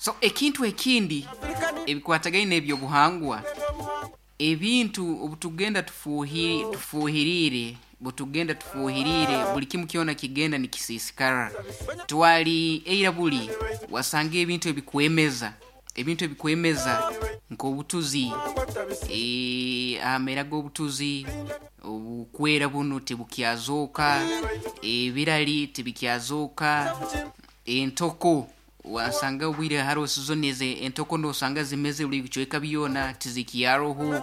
So ekintu ekindi ebikwatagaine n'ebyobuhangwa, ebintu obutugenda tufuhiriire, butugenda tufuhiriire, buli kimu kyona kigenda nikisiisikara. Twali eira buli wasanga ebintu ebikwemeza, ebintu ebikwemeza nk'obutuzi, amera g'obutuzi obukwera bunu tibukyazooka, ebirali tibikyazooka, entoko wasanga obwire haroho sizoni eze entoko nosanga zimeze buli bicweka byona tizikyaroho,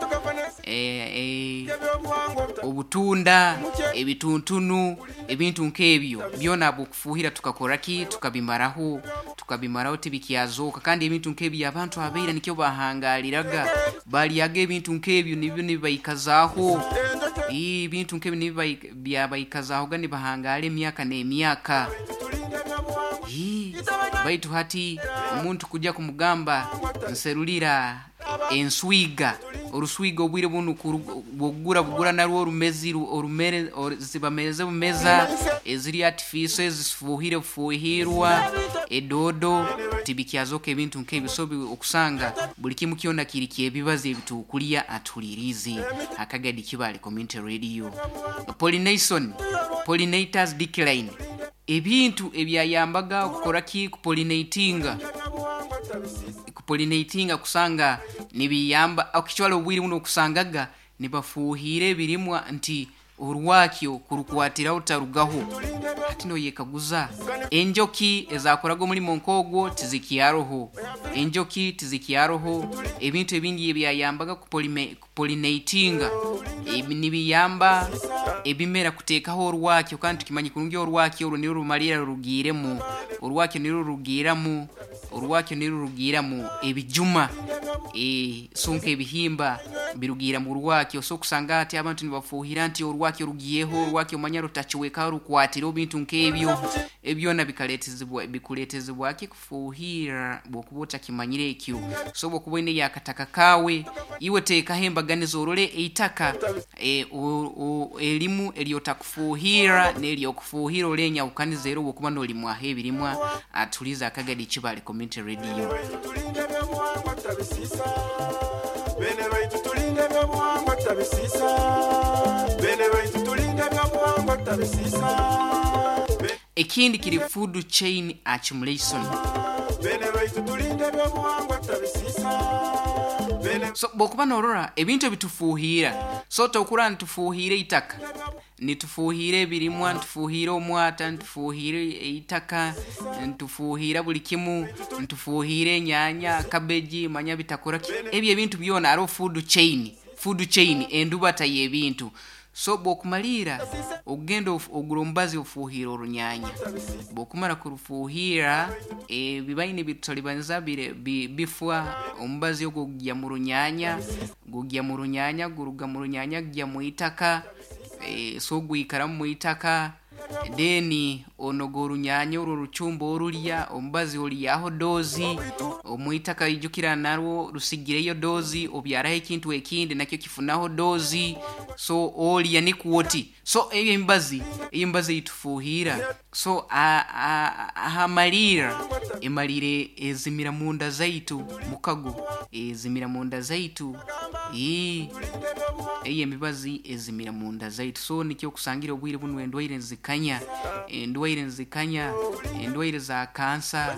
obutunda, ebituntunu, ebintu nk'ebyo byona habw'okufuuhira tukakora ki? Tukabimaraho, tukabimaraho tibikyazooka. Kandi ebintu nk'ebyo abantu abaira nikyo bahangaliraga, balyaga ebintu nk'ebyo nibyo nibibaikazaaho, ebintu nk'ebyo nibyo byabaikazaahoga nibahangara emyaka n'emyaka. Baitu hati omuntu kujya kumugamba nserulira enswiga, oruswiga obwire bunu bwokugura bugura narwo orumezi orumere zibamereze bumeza, eziri artificial ezifuuhire bufuuhirwa, edoodo tibikyazoka ebintu nk'ebyo. So okusanga buli kimu kyona kiri ky'ebibazi ebitukulya atuhuliriize Akagadi Kibale Community Radio. Pollination, pollinators decline. Ebintu ebyayambaga okukora ki? Kupolinatinga, kupolinatinga kusanga nibiyamba okitwara obwire buno okusangaga nibafuuhira ebirimwa nti orwakyo kurukwatiraho tarugaho. Hati noyekaguza enjoki ezakoraga omulimo nk'ogwo tizikyaroho, enjoki tizikyaroho, ebintu ebindi ebyayambaga kupolinatinga nibiyamba ebimera kuteekaho orwakyo, kandi tukimanye kurungi orwakyo orwo nirwo rumalira rurugiiremu, orwakyo nirwo rurugiiramu, orwakyo nirwo rurugiiramu ebijuma, so nk'ebihimba birugiira mu rwakyo. So okusanga hati abantu nibafuuhira nti orwakyo rugiyeho, orwakyo manya rutacwekaho rukwatire ebintu nk'ebyo, ebyona bikaletezibwa bikuletezibwa ki? Kufuuhirra bwokuba otakimanyire ekyo. So obwokuba oineyo akataka kaawe, iwe teekaho embaganiza orole eitaka erimu eryotakufuuhirra n'eryokufuuhira orole enyahukaniza ero obwokuba nolimwaho ebirimwa. Atulize Akagadi Kibale Community Radio. Ekindi kiri food chain accumulation. So bwokuba norora ebintu ebitufuuhira, so tokurora nitufuuhira eitaka, nitufuuhira ebirimwa, nitufuuhira omwata, nitufuuhira eitaka, nitufuuhira buli kimu, nitufuuhira enyanya, cabbage, manya bitakora ki, ebyo ebintu byona haroho food chain, food chain endubata y'ebintu. So bwokumaliira ogenda ogura omubazi ofuuhira orunyanya, bwokumara kurufuuhira ebibaine bitutalibaniza bifwa, omubazi ogwo gugya mu runyanya, gugya mu runyanya, guruga mu runyanya gugya mu itaka, so gwikaramu mu itaka, then onoga orunyanya orwo orucumba orulya, omubazi olyaho dozi, omwitaka ijukira narwo rusigireyo dozi, obyaraho ekintu ekindi nakyo kifunaho dozi, so olya nikwo oti. So eyo emibazi, eyo emibazi eyitufuuhira, so ahamaliira emaliire ezimira munda zaitu mukago, ezimira munda zaitu, eyo emibazi ezimira munda zaitu. So nikyo okusangira obwire bunu endwaire nizikanya, endwaire nizikanya, endwaire za kansa,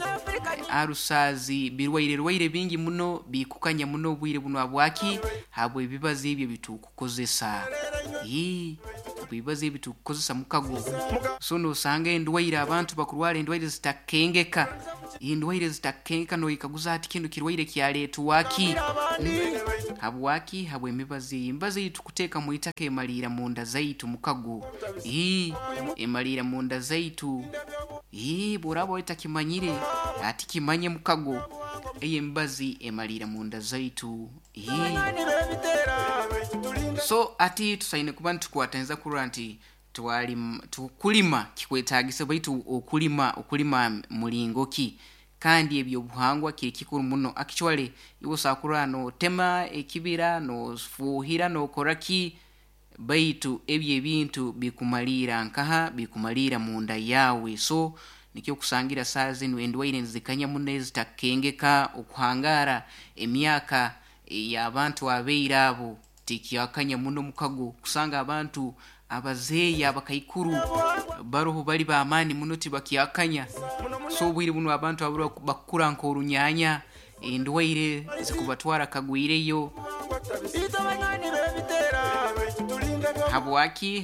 arusazi, birwaire rwaire bingi muno bikukanya muno obwire bunu habwaki? Habw'ebibazi ebyo ebitukukozesa, ebibazi ebitukukozesa mukago. So nosanga endwaire abantu bakurwara endwaire zitakengeka, endwaire zitakengeka noyekaguza hati kinu kirwaire kyaletwa ki? Habwaki? Habw'emibazi eyo. Emibazi eyi tukuteeka mu itaka emaliira munda zaitu mukago, emaliira munda zaitu, bworaba otakimanyire hati kimanye mukago, eyo emibazi emaliira munda zaitu. So hati tusaine kuba nitukwataniza kurora nti kulima kikwetagisa, baitu okulima okulima mulingo ki? Kandi ebyobuhangwa kiri kikuru muno. Actually iwe osobola kurora notema ekibira, nofuuhira, nokora ki, baitu ebyo ebintu bikumaliira nkaha? Bikumaliira munda yaawe. So Nikyo kusangira saa zinu endwaire nizikanya muno ezitakengeka. Okuhangara emyaka ey'abantu abaira abo tikyakanya muno mukago, kusanga abantu abazeeyi abakaikuru baroho bali b'amaani muno tibakyakanya. So obwire bunu abantu abaro bakukura nk'orunyanya, endwaire zikubatwara kagwireyo. Habwaki?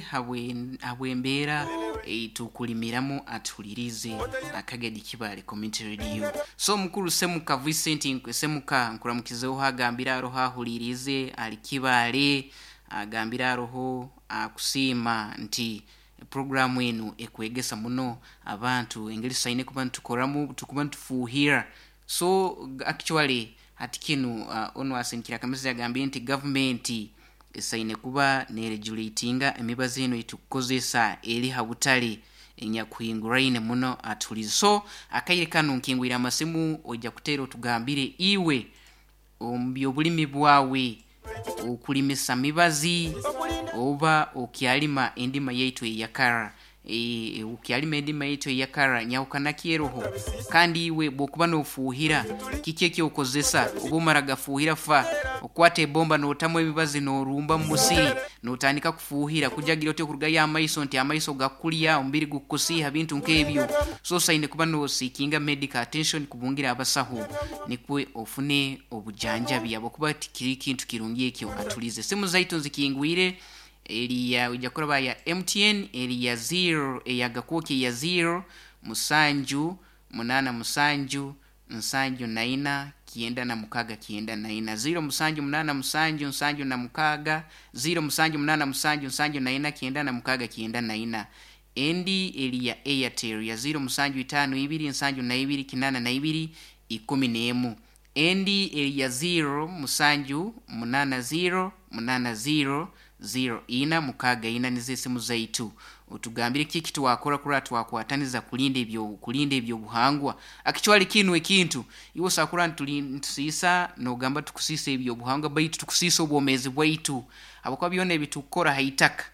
Habw'embeera eitukulimiramu. Atuhulirize Akagadi Kibale Community Radio. So mukuru Semuka Vincent Semuka, nkuramukizeho, agambire aroho ahulirize ali Kibale, agambire aroho akusiima nti programu enu ekwegesa muno abantu engeri tusaine kuba nitukoramu, tukuba nitufuuhira. So actually hati kinu onu asindikire akamesegi agambire nti gavumenti esaine kuba neregulatinga emibazi enu eitukukozesa eri ha butale enyakuhinguraine muno. Atuhulize. So akaire kanu nkingwire amasimu, ojja kuteera otugambire iwe omu byobulimi bwawe okulimisa mibazi oba okyalima endima yaitu eyakara. Okyalima endima yaitu eyakara, nyahukana ki eroho? Kandi iwe bwokuba nofuuhira, kiki ekyokozesa? Oba omara gafuuhira fa okwata ebomba notamu emibazi norumba mu musiri notandika kufuuhira kujagira oti okurugayo amaiso nti amaiso gakulya, omubiri gukukusiiha, bintu nk'ebyo. So osaine kuba nosiikinga medical attention, kubungira abasaho nikwe ofune obujanjabi, habwokuba tikiri kintu kirungi ekyo. Atulize simu zaitu nzikingwire, eriya ojja kuraba ya MTN eri ya 0, eyagakuuki ya 0 7 8 7 74 96 94, 0 7 8 7 76 0 7 8 7 74 96 94. Endi eri ya Airtel ya 0 7 5 2 72 82 11. Endi eri ya 0 7 8 0 8 0 0 4 6 4. Nizo esimu zaitu. Otugambire kiki twakora kurora twakwataniza kulinda ebyo, kulinda ebyobuhangwa. Akichwali kinu ekintu iwe osakura ntusiisa nogamba tukusiisa ebyobuhangwa, baitu tukusiisa obwomeezi bwaitu, habwokuba byona ebitukukora ha itaka,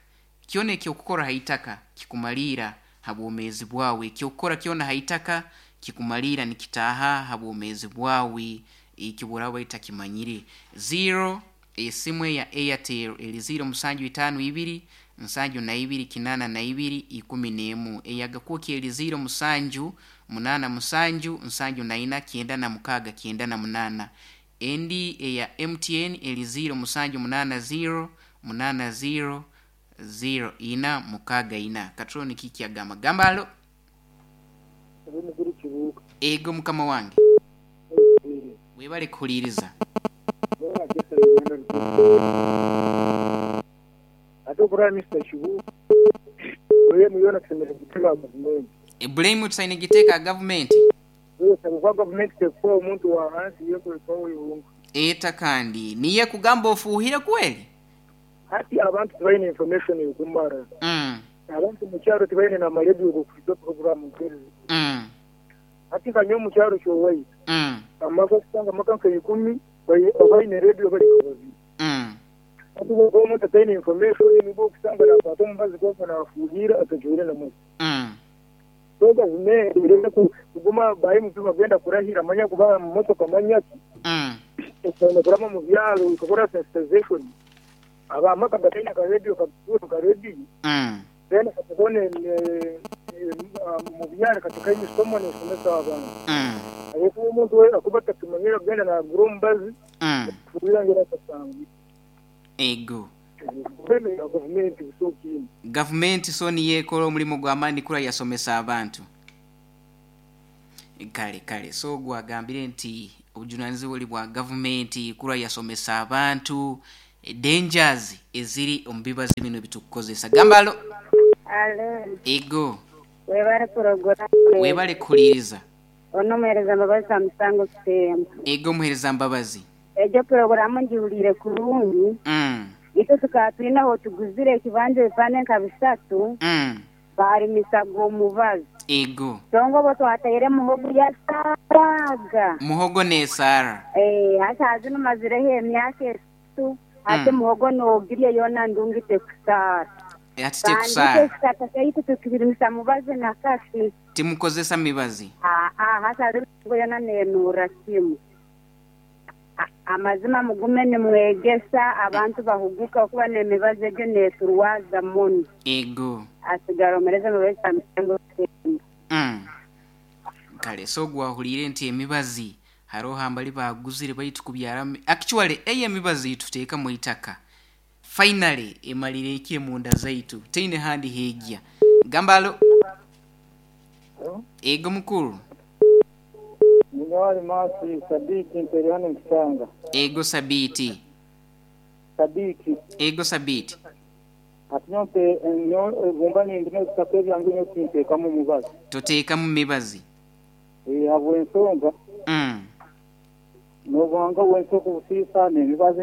kyona ekyokukora ha itaka kikumaliira ha bwomeezi bwawe. Ekyokukora kyona ha itaka kikumaliira, nikitaaha ha bwomeezi bwawe, ekyo bworaba otakimanyire. 0 esimu eya Airtel eri 0 7 5 2 72 82 11. Eyagakuuki eri 0 7 8 7 74 96 98. Endi eya MTN eri 0 7 8 0 8 0 0 4 6 4. Katroni kiki agamba? Gamba alo. Ego mukama wange, webale kuhuliriza. Ate okuraba Mr. Kibu, blame yona tusemeriire kugiteeka ha gavumenti. Blame tusaine giteeka ha gavumenti. Habwokuba gavumenti tekufa omuntu wa hansi, yo ekufa ihunga. Eta kandi niyo ekugamba ofuuhire kweli. Hati abantu tibaine information ekumara. Abantu mu kyaro tibaine n'amarediyo g'okuhuriza puroguraamu nk'ezi. Hati nka nyowe omu kyaro ky'owaitu, amaka okusanga amaka nka ikumi abaine rediyo bari nka babiri. Hati obu omuntu ataine information nibwo okusanga nakwata omubazi gwonka nafuuhira atajwaire na masiki. So gavumenti ereke kuguma ba MP bagenda kurahira manya kubaha amamotoka manya ki, esaine kuraba omu byaro ekakora sensitization. Ab'amaka gataine akarediyo kagure karediyo, then katubone omu byaro katekayo emisomo nesomesa abantu. Habwokuba omuntu we akuba atakimanyire akugenda nagura omubazi kufuhirira ngu atasangire. Ego. Kwemera gavumenti busaho kindi. Gavumenti so niyo ekora omulimo gw'amaani kura yasomesa abantu. Kale kale, so ogu agambire nti obujunanizibwa buli bwa gavumenti kura yasomesa abantu dangers eziri omu bibazi binu ebitukukozesa. Gamba alo. Alo. Ego. Webale puroguramu. Webale kuhuliiriza. Ono omuhereza Mbabazi Samusango Kitembo. Ego omuhereza Mbabazi. Egyo puroguramu ngihuliire kurungi. Itwe tukaba twine ahu tuguzire ekibanja ebipande nka bisatu. Baarimisaga omubazi. Ego. Kyonka obwo twataire muhogo yasaaraga. Muhogo nesaara. Eeh, hati hazinu mazireho emyaka esatu, hati muhogo nogirya yoona ndungi tekusaara. Hati Kandi tekusaara. itwe ekitaka kyaitu tukirimisa mubazi na kasi. Timukozesa mibazi. Aa hati hariho yona nenurra kimu. Amazima mugume nimwegesa abantu bahuguke okuba n'emibazi egyo neturwaza muno. Ego. Asigara omereze mubazi amisengo temba. Kale so gwahuliire nti emibazi haroho ambali baguzire baitu kubyaramu actually eyo emibazi tuteekamu itaka finally emalire ekire munda zaitu teine handi hegya. Gamba alo. Ego mukuru. Ninyowe Masi Sabiti mpere hano Mukisanga. Ego Sabiti. Sabiti. Ego Sabiti. Ati nyowe bumba nindima ebitaka ebyange nyowe tinteekamu mubazi. Toteekamu mibazi. Habw'ensonga. N'obuhanga bw'ensi okubusiisa n'emibazi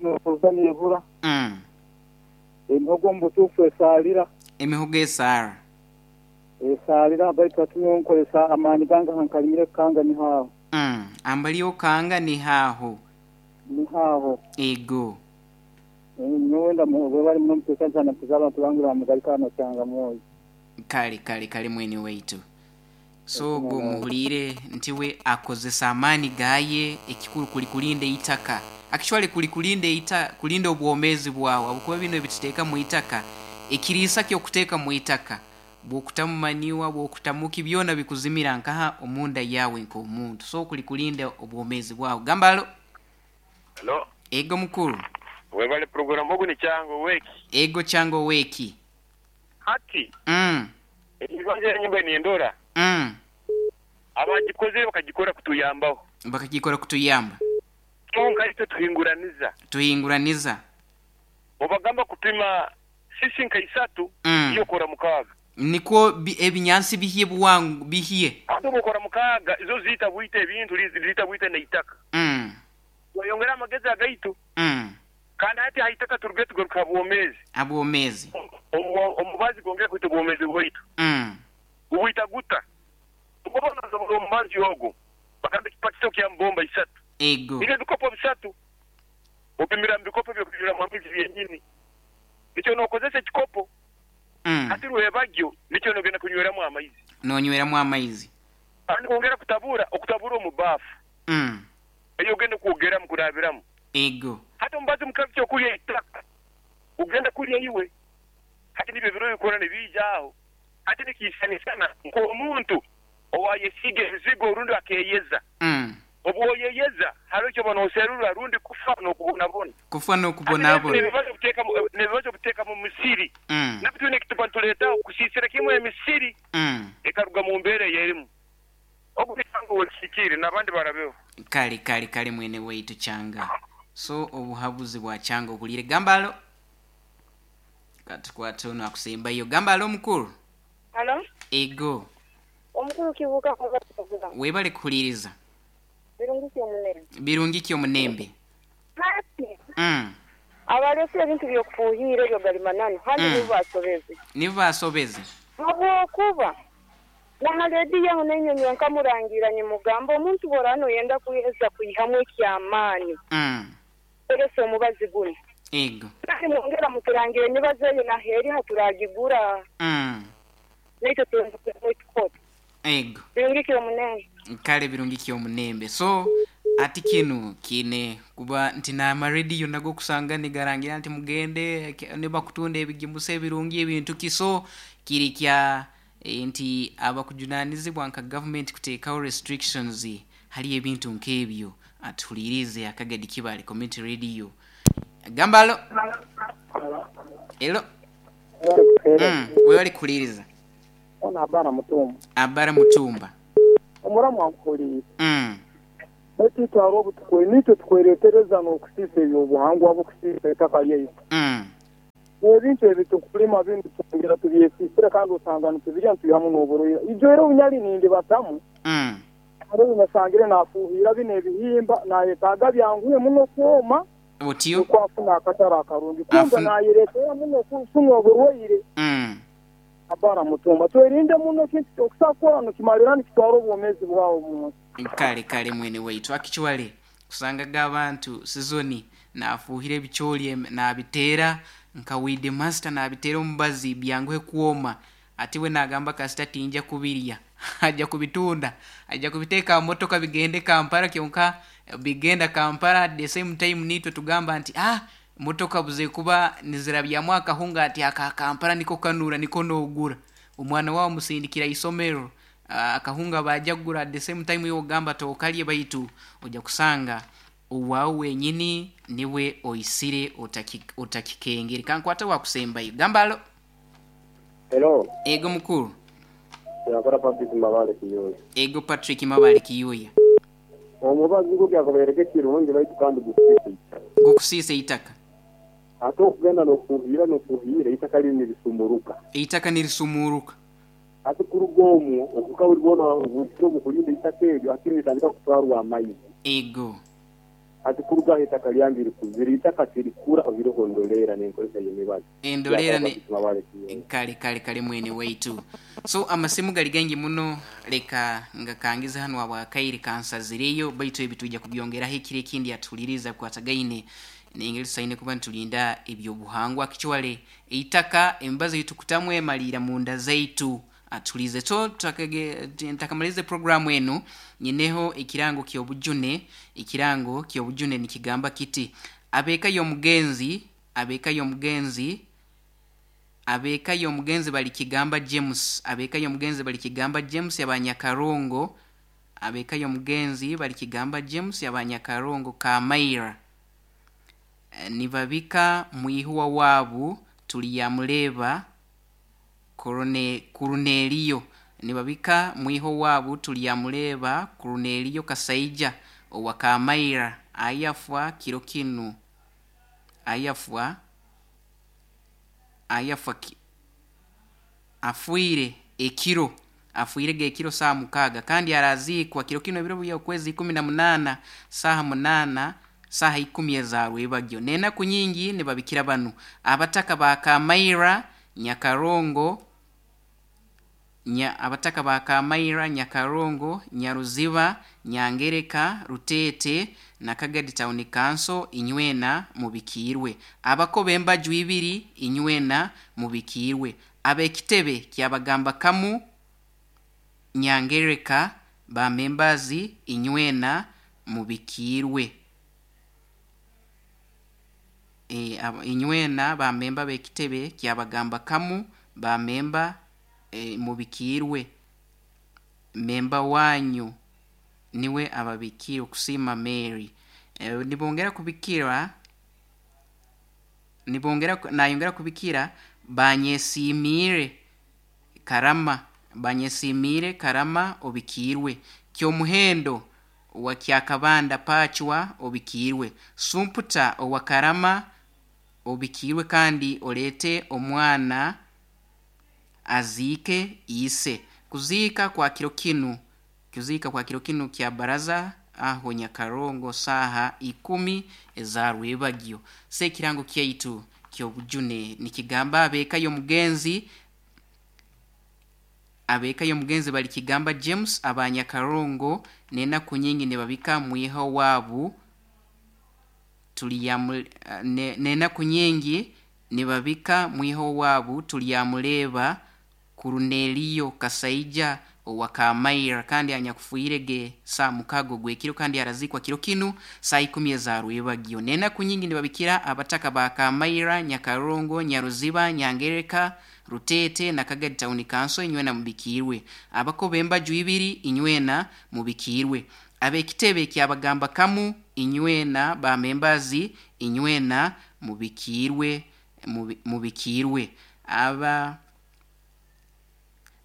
n'okuza n'ebura. Emihogo omu butuufu esaalira. Emihogo esaara. Esaalira baitu hati nyowe nkozesa amaani gange hankalimire kukanga niho aho. Ambali okanga niho aho. Niho aho. Ego. Nyowe webale muno muteekaniza nampiza abantu bange bamugaruka hano kyanga mwoyo. Kale kale kale mwene waitu. So ogwo muhuliire nti we akozesa amaani gaye ekikuru kuli kulinda eitaka. Actually kuli kulinda eita kulinda obwomezi bwawe ahabwokuba bino ebituteeka mu itaka ekiriisa ky'okuteeka mu itaka bw'okutamu manure bw'okutamu ki byona bikuzimira nkaha omunda yawe nk'omuntu so kuli kulinda obwomezi bwawe. Gamba alo. Halo. Ego mukuru. Webale program ogu ni Kyanga oweki. Ego Kyanga oweki. Hati ekibanja enyumba nendora abagikozire bakagikora kutuyambaho. Bakagikora kutuyamba. Kyonka itwe tuhinguraniza. Tuhinguraniza. Obagamba kupima sisi nka isatu iwe okora mukaaga. Nikwo ebinyansi bihye bwangu bihye. Ate obwokora mukaaga izo ziita bwita ebintu ziita bwita n'eitaka. Tweyongera amagezi agaitu. Kandi hati ha itaka turuge tugaruke ha bwomeezi. Ha bwomeezi. Omubazi gwongera kwita obwomeezi bwaitu. Gubwita guta? Oba nosobora omubazi ogwo bagamba ekipakiti kya mbomba isatu. Ego. Nibyo ebikopo bisatu. Opimira mu bikopo eby'okunyweramu amaizi byenyini. Nikyo nokozesa ekikopo. Hati rwebagyo nikyo nogenda kunyweramu amaizi. Nonyweramu amaizi. Kandi kwongera kutabura, okutabura omu baafu. Eyo ogenda kwogeramu kurabiramu. Ego. Hati omubazi mukabi ky'okulya eitaka gugenda kulya iwe. Hati nibyo ebiro bikora nibiija aho. Hati nikiisanisana nk'omuntu owayesiiga ebizigo rundi akeeyeza. Obu oyeyeza haroho eki oba nooserura rundi kufa n'okubonabona. Kufa n'okubonabona. Hati n'ebibazo obuteeka mu misiri nabyo twine eki tuba nituleetaho kusiisira kimwe emisiri ekaruga mu mbeera ei erimu. Ogu ni Kyanga ow'ekihikire n'abandi barabeho. Kale kale kale mwene waitu Kyanga. So obuhabuzi bwa Kyanga obuliire. Gamba alo. Katukwate ono akusembayo. Gamba alo omukuru. Halo. Ego. Omukuru Kibuuka webale program. Webale kuhuliriza. Birungi ki omunembe. Birungi ki omunembe. Hati abalese ebintu by'okufuuhiira ebyo gali mananu handi nibo basobeze. Nibo basobeze. Habwokuba na ha rediyo aho nainywe nyowe nkamurangiira nimugamba omuntu bw'oraaba noyenda kweza kwihamu eky'amaani kozesa omubazi gunu. Ego. Kandi mwongera muturangira emibazi eyo naho eri ha turagigura. Naitwe tugonza kwihamu ekikoto. Ego. Birungi ki omunembe. Kale birungi ki omunembe. So ati kinu kiine kuba nti n'amarediyo nago okusanga nigarangira nti mugende nibakutunda ebigimusa ebirungi ebintu ki so kiri kya nti abakujunanizibwa nka gavumenti kuteekaho restrictions hali ebintu nk'ebyo. Atuhuliirize Akagadi Kibale Community Radio. Gamba alo. Elo. Webale kuhuliiriza. Ono Abara Mutumba. Abara Mutumba. Omuramu ankuhuliire. Baitu itwe haroho obu niitwe tukwereetereza n'okusiisa eby'obuhangwa bw'okusiisa eitaka lyaitu. Ebintu ebi tukulima binu twongera tubyesiisire kandi osanga nitubirya nitwihamu n'oburwaire. Ijo era obunyali nindibatamu, haroho obu nasangire naafuuhiira binu ebihimba nayetaaga byanguhe muno kwoma Otyo. nukwo afune akatare akarungi. Kumbe nayereetera muno kufuna oburwaire. Abara Mutumba. Twerinde muno ekintu ky'okusa kukora nikimalirra nikitwara obwomeezi bwawe omu nsi. Kale kale mwene waitu. Actually kusangaga abantu sizoni nafuuhira ebicooli nabiteera nka weed master nabiteera omubazi byanguhe kwoma. Ati we nagamba kasita tinja kubirya, ajja kubitunda, ajja kubiteeka mu motoka bigende Kampala. Kyonka bigenda Kampala, at the same time nitwe tugamba nti motoka buze kuba nizirabyamu akahunga, ati aka Kampala niko kanura, niko nogura. Omwana wawe musindikira isomero, akahunga bajja kugura. At the same time iwe ogamba tokalye, baitu ojja kusanga owaawe wenyini niwe oisire otakikengere. Kankwata wakusembayo, gamba alo. Hello. Ego mukuru. Yakora Patrick Mabale Kiyuya. Ego Patrick Mabale Kiyuya. Omubazi gwo gyakubereka ekirungi, baitu kandi gukusiisa eitaka. Gukusiisa eitaka. Ate okugenda n'okufuuhira n'okufuuhira, eitaka liri nirisumuruka. Eitaka nirisumuruka. Ate kuruga omwo okuka buli bwona obukire omu kulinda eitaka eryo, ate niritandika kutwarwa amaizi. Ego. Ati kuruga aho eitaka lyange rikuzire, eitaka tirikura oihireho ndoleera n'enkozesa y'emibazi. Endoleera Yakora ne Patrick Mabale Kiyuya. Kale kale kale, mwene waitu. So amasimu gali gaingi muno, leka ngakangize hanu abwakaire kansazireyo, baitu ebi tujja kubyongeraho ekiro ekindi. Atuhuliriza kukwatagaine nengeri tusaine kuba nitulinda ebyobuhangwa. Kichwale eitaka, emibazi eitukutamu emaliira munda zaitu. Atulize. So ntakamalize programu enu, nyineho ekirango ky'obujune. Ekirango ky'obujune nikigamba kiti: abeeka y'omugenzi, abeeka y'omugenzi, abeeka y'omugenzi bali kigamba James, abeeka y'omugenzi bali kigamba James abanyakarongo, abeeka y'omugenzi bali kigamba James abanyakarongo Kamaira, nibabika mwihuwa waabu tuliyamuleba Kuruneliyo, nibabika mwiho waabu tuliyamuleba Kuruneliyo Kasaija owa Kamaira ayafwa kiro kinu, ayafwa ayafwa afwire ekiro, afwire gekiro saa 6, kandi araziikwa kiro kino ebiro bya okwezi 18 saaha 8, saaha 10 ezarwebagyo. N'enaku nyingi nibabikira banu abataka ba Kamaira Nyakarongo, abataka ba Kamaira Nyakarongo, Nyaruziba, Nyangereka, Rutete na Kagadi Town Council, inywena mubikiirwe. Abakoba embaju ibiri, inywena mubikiirwe. Ab'ekitebe kyabagamba kamu Nyangereka ba membazi, inywena mubikiirwe. Inywena ba memba b'ekitebe kyabagamba kamu ba memba, mubikiirwe. Memba wanyu niwe ababikiire, okusiima Mary. Nibongera kubikira, nibongera nayongera kubikira banyesiimiire Karama, banyesiimiire Karama obikiirwe. Kyomuhendo owa Kyakabanda Pachwa obikiirwe. Sumputa owa Karama obikiirwe, kandi oleete omwana aziike ise. Kuziika kwa kiro kinu, kuziika kwa kiro kinu kya baraza aho Nyakarongo saaha 10 ezarwebagyo. Se ekirango kyaitu ky'obujune nikigamba abeeka y'omugenzi, abeeka y'omugenzi bali kigamba James abanyakarongo, n'enaku nyingi nibabika mwiha waabu n'enaku nyingi nibabika mwiha waabu tulyamuleba Kuruneliyo Kasaija owa Kamaira, kandi anyakufuire ge saa 6 gwekiro, kandi arazikwa kiro kinu saa 10 ezarwebagyo. N'enaku nyingi nibabikira abataka ba Kamaira Nyakarongo, Nyaruziba, Nyangereka, Rutete na Kagadi Town Council, inywena mubikiirwe. Abakoba embaju ibiri, inywena mubikiirwe. Ab'ekitebe kyabagamba kamu, inywena ba membazi, inywena mubikiirwe, mubikiirwe. Aba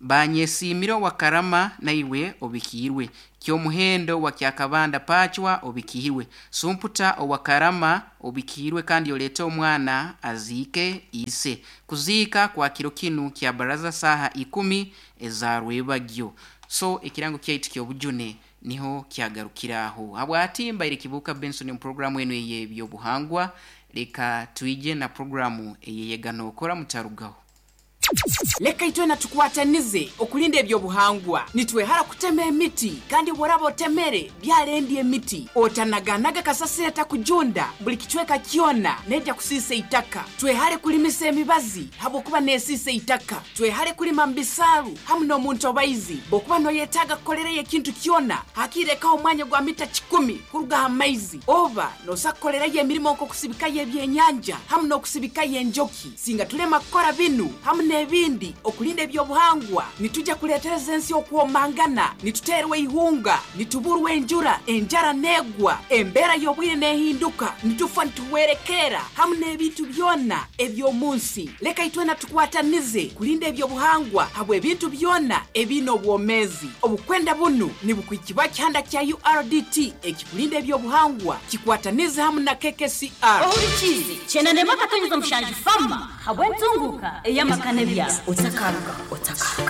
banyesiimire owa Karama naiwe obikiirwe. Kyomuhendo wa Kyakabanda Pachwa obikiirwe. Sumputa owa Karama obikiirwe, kandi oleete omwana aziike ise. Kuziika kwa kiro kinu kya baraza saaha 10 ezarwebagyo. So ekirango kyaitu ky'obujune niho kyagarukiraho. Habwati mbaire Kibuuka Benson mu programu enu ey'ebyobuhangwa. Leka twije na programu eyeyega nookora, mutarugaho. Leka itwena tukwatanize okulinda ebyobuhangwa. Nitwehara kutema emiti, kandi bworaba otemere byalendi emiti. Otanaganaga kasasiro etakujunda buli kicweka kyona, nejja kusiisa eitaka. Twehare kulimisa emibazi habwokuba nesiisa eitaka. Twehare kulima mu bisaaru hamu n'omuntobaizi. Bwokuba noyetaaga kukolerayo ekintu kyona, hakirekaho omwanya gwa mita 100 kuruga aha maizi. Oba nosa kukolerayo emirimo nk'okusibikayo ebyenyanja hamu n'okusibikayo enjoki. Singa tulema kukora binu hamu n'ebindi okulinda ebyobuhangwa, nitujja kuleetereza ensi okwomangana, nituteerwa eihunga, nituburwa enjura, enjara neegwa, embeera y'obwire neehinduka, nitufa nituhwerekerra hamu n'ebintu byona eby'omu nsi. Leka itwena tukwatanize kulinda ebyobuhangwa habw'ebintu byona ebiine obwomeezi. Obukwenda bunu nibukwikibwa kihanda kya URDT ekikulinda ebyobuhangwa kikwatanize hamu na KKCR. Ohurikiize 91.7 Fama habw'entunguka ey'amaka n'ebyaro. Otakaruga, otakaruga.